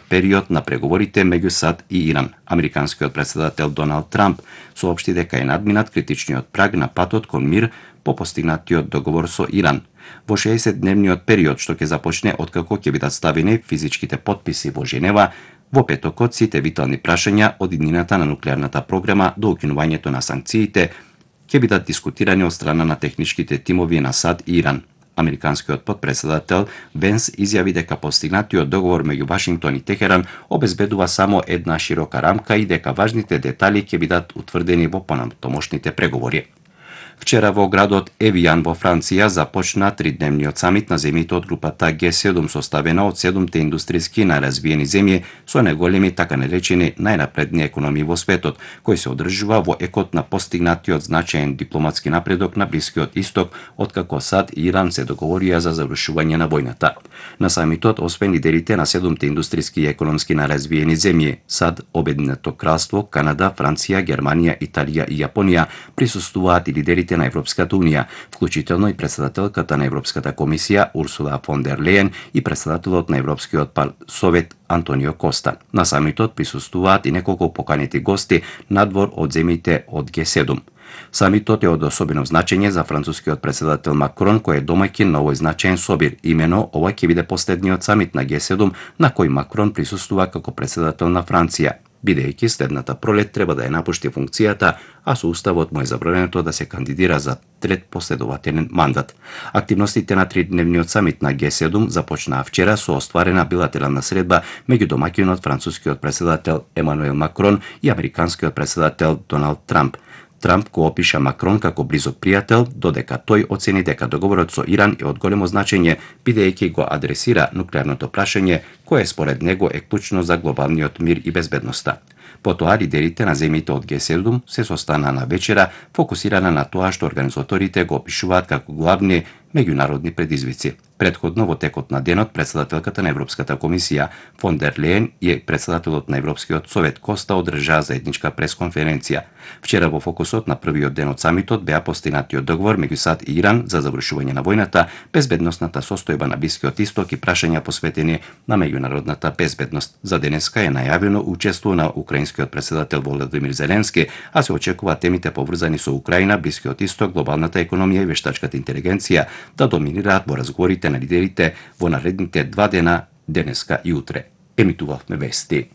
период на преговорите меѓу САД и Иран. Американскиот претседател Доналд Трамп соопшти дека е надминат критичниот праг на патот кон мир по постигнатиот договор со Иран. Во 60-дневниот период што ќе започне откако ќе бидат ставени физичките потписи во Женева, во петокот сите витални прашања од иднината на нуклеарната програма до укинувањето на санкциите ќе бидат дискутирани од страна на техничките тимови на САД и Иран. Американскиот потпредседател Венс изјави дека постигнатиот договор меѓу Вашингтон и Техеран обезбедува само една широка рамка и дека важните детали ќе бидат утврдени во понатомошните преговори. Вчера во градот Евијан во Франција започна тридневниот самит на земјите од групата Г7 составена од 7 индустријски најразвиени земји со најголеми така наречени најнапредни економии во светот, кој се одржува во екот на постигнатиот значаен дипломатски напредок на Блискиот Исток, откако САД и Иран се договорија за завршување на војната. На самитот, освен лидерите на 7 индустријски и економски најразвиени земји, САД, Обединето кралство, Канада, Франција, Германија, Италија и Јапонија, присуствуваат и лидерите на Европската унија, вклучително и претседателката на Европската комисија Урсула фон дер Лејен и претседателот на Европскиот совет Антонио Коста. На самитот присуствуваат и неколку поканети гости надвор од земјите од Г7. Самитот е од особено значење за францускиот претседател Макрон, кој е домаќин на овој значаен собир. Имено, ова ќе биде последниот самит на Г7 на кој Макрон присуствува како претседател на Франција, бидејќи следната пролет треба да ја напушти функцијата, а со уставот му е забрането да се кандидира за трет последователен мандат. Активностите на тридневниот самит на Г7 започнаа вчера со остварена билатерална средба меѓу домаќинот францускиот претседател Емануел Макрон и американскиот претседател Доналд Трамп. Трамп го опиша Макрон како близок пријател, додека тој оцени дека договорот со Иран е од големо значење, бидејќи го адресира нуклеарното прашање, кое според него е клучно за глобалниот мир и безбедноста. Потоа лидерите на земјите од Г7 се состанаа на вечера, фокусирана на тоа што организаторите го опишуваат како главни меѓународни предизвици. Претходно во текот на денот претседателката на Европската комисија фон дер Лејен и претседателот на Европскиот совет Коста одржаа заедничка пресконференција. Вчера во фокусот на првиот ден од самитот беа постигнатиот договор меѓу САД и Иран за завршување на војната, безбедносната состојба на Блискиот Исток и прашања посветени на меѓународната безбедност. За денеска е најавено учество на украинскиот претседател Володимир Зеленски, а се очекува темите поврзани со Украина, Блискиот Исток, глобалната економија и вештачката интелигенција да доминираат во разговорите на лидерите во наредните 2 дена, денеска и утре. Емитувавме вести.